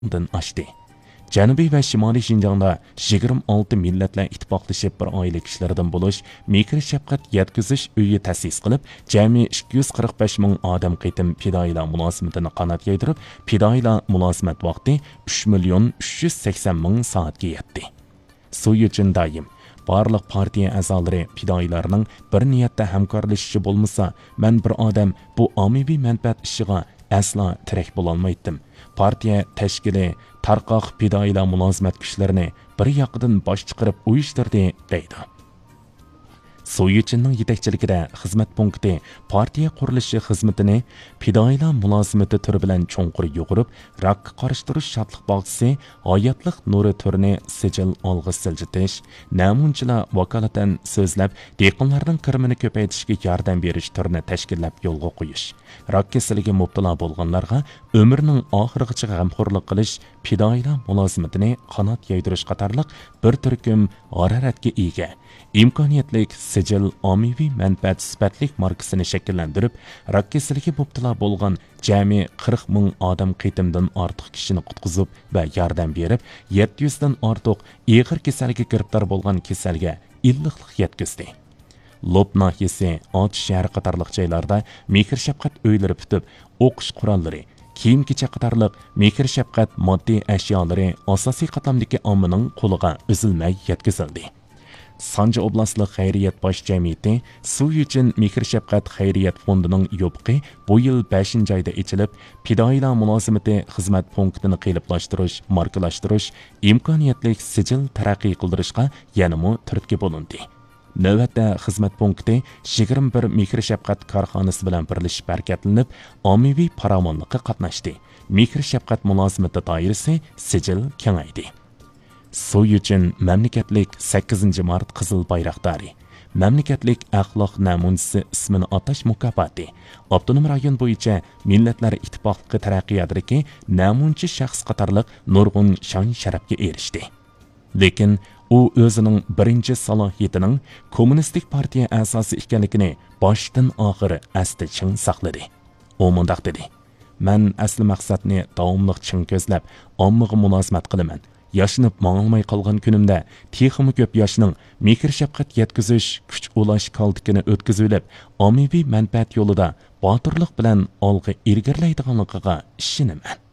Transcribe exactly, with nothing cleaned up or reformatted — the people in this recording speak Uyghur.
دىن ئاشتى. جەنۇبىي ۋە شىمالىي شىنجاڭدا يىگىرمە ئالتە مىللەتلەر ئىتتىپاقلىشىپ بىر ئائىلە كىشىلىرىدىن بولۇش مېھىر شەپقەت يەتكۈزۈش ئۆيى تەسىس قىلىپ، جەمئىي ئىككى يۈز قىرىق بەش مىڭ ئادەم قېتىم پىدائىيلار مۇلازىمىتىنى قانات يايدۇرۇپ، پىدائىيلار مۇلازىمەت ۋاقتى ئۈچ مىليون ئۈچ يۈز سەكسەن مىڭ سائەتكە يەتتى. سۇ يۈچۈن دائىم بارلىق پارتىيە ئەزالىرى پىدائىيلارنىڭ بىر نىيەتتە ھەمكارلىشىشى بولمىسا، مەن بىر ئادەم بۇ ئاممىۋى مەنپەئەت ئىشىغا ئەسلا تىرەك بولالمايتتىم. پارتىيە تەشكىلى تارقاق پىدائىيلار مۇلازىمەت كۈچلىرىنى بىر ياقىدىن باش چىقىرىپ ئۇيۇشتۇردى، دەيدۇ. سۇ يۈچۈننىڭ يېتەكچىلىكىدە خىزمەت پونكىتى پارتىيە قۇرۇلۇشى خىزمىتىنى پىدائىيلار مۇلازىمىتى تۈرى بىلەن چوڭقۇر يۇغۇرۇپ، راكقا قارشى تۇرۇش شادلىق باغچىسى، ھاياتلىق نۇرى تۈرىنى سىجىل ئالغا سىلجىتىش، نەمۇنىچىلار ۋاكالىتەن سۆزلەپ، دېھقانلارنىڭ كىرىمىنى كۆپەيتىشكە ياردەم بېرىش تۈرىنى تەشكىللەپ يولغا قويۇش، راك كېسىلىگە مۇپتىلا بولغانلارغا ئۆمرىنىڭ ئاخىرىغىچە غەمخورلۇق قىلىش، پىدائىيلار مۇلازىمىتىنى قانات يايدۇرۇش قاتارلىق بىر تۈركۈم ھارارەتكە ئىگە، ئىمكانىيەتلىك سىجىل ئاممىۋى مەنپەئەت سۈپەتلىك ماركىسىنى شەكىللەندۈرۈپ، راك كېسىلىگە مۇپتىلا بولغان جەمئىي قىرىق مىڭ ئادەم قېتىمدىن ئارتۇق كىشىنى قۇتقۇزۇپ ۋە ياردەم بېرىپ، يەتتە يۈزدىن ئارتۇق ئېغىر كېسەلگە گىرىپتار بولغان كېسەلگە ئىللىقلىق يەتكۈزدى. لوپ ناھىيەسى، ئاتۇش شەھىرى قاتارلىق جايلاردا مېھىر شەپقەت ئۆيلىرى پۈتۈپ، ئوقۇش قوراللىرى، كىيىم-كېچەك قاتارلىق مېھىر شەپقەت ماددىي ئەشيالىرى ئاساسىي قاتلامدىكى ئاممىنىڭ قولىغا ئۈزۈلمەي يەتكۈزۈلدى. سانجى ئوبلاستلىق خەيرىيەت باش جەمئىيىتى سۇ يۈچۈن مېھىر شەپقەت خەيرىيەت فوندىنىڭ يوپۇقى بۇ يىل بەشىنچى ئايدا ئېچىلىپ، پىدائىيلار مۇلازىمىتى خىزمەت پونكىتىنى قېلىپلاشتۇرۇش، ماركىلاشتۇرۇش، ئىمكانىيەتلىك سىجىل تەرەققىي قىلدۇرۇشقا يەنىمۇ تۈرتكە بولۇندى. نۆۋەتتە خىزمەت پونكىتى يىگىرمە بىر مېھىر شەپقەت كارخانىسى بىلەن بىرلىشىپ ھەرىكەتلىنىپ، ئاممىۋى پاراۋانلىققا قاتناشتى. مېھىر شەپقەت مۇلازىمىتى دائىرىسى سىجىل كېڭەيدى. سۇ يۈچۈن مەملىكەتلىك سەككىزىنچى مارت قىزىل بايراقدارى، مەملىكەتلىك ئەخلاق نەمۇنىچىسى ئىسمىنى ئاتاش مۇكاپاتى، ئاپتونوم رايون بويىچە مىللەتلەر ئىتتىپاقلىقى تەرەققىياتىدىكى نەمۇنىچى شەخس قاتارلىق نۇرغۇن شان-شەرەپكە ئېرىشتى. لېكىن ئۇ ئۆزىنىڭ بىرىنچى سالاھىيىتىنىڭ كوممۇنىستىك پارتىيە ئەزاسى ئىكەنلىكىنى باشتىن ئاخىر ئەستە چىڭ ساقلىدى. ئۇ مۇنداق دېدى: «مەن ئەسلى مەقسەتنى داۋاملىق چىڭ كۆزلەپ، ئاممىغا مۇلازىمەت قىلىمەن. ياشىنىپ ماڭالماي قالغان كۈنۈمدە تېخىمۇ كۆپ ياشنىڭ مېھىر-شەپقەت يەتكۈزۈش، كۈچ ئۇلاش كالتىكىنى ئۆتكۈزۈۋېلىپ، ئاممىۋى مەنپەئەت يولىدا باتۇرلۇق بىلەن ئالغا ئىلگىرىلەيدىغانلىقىغا ئىشىنىمەن.»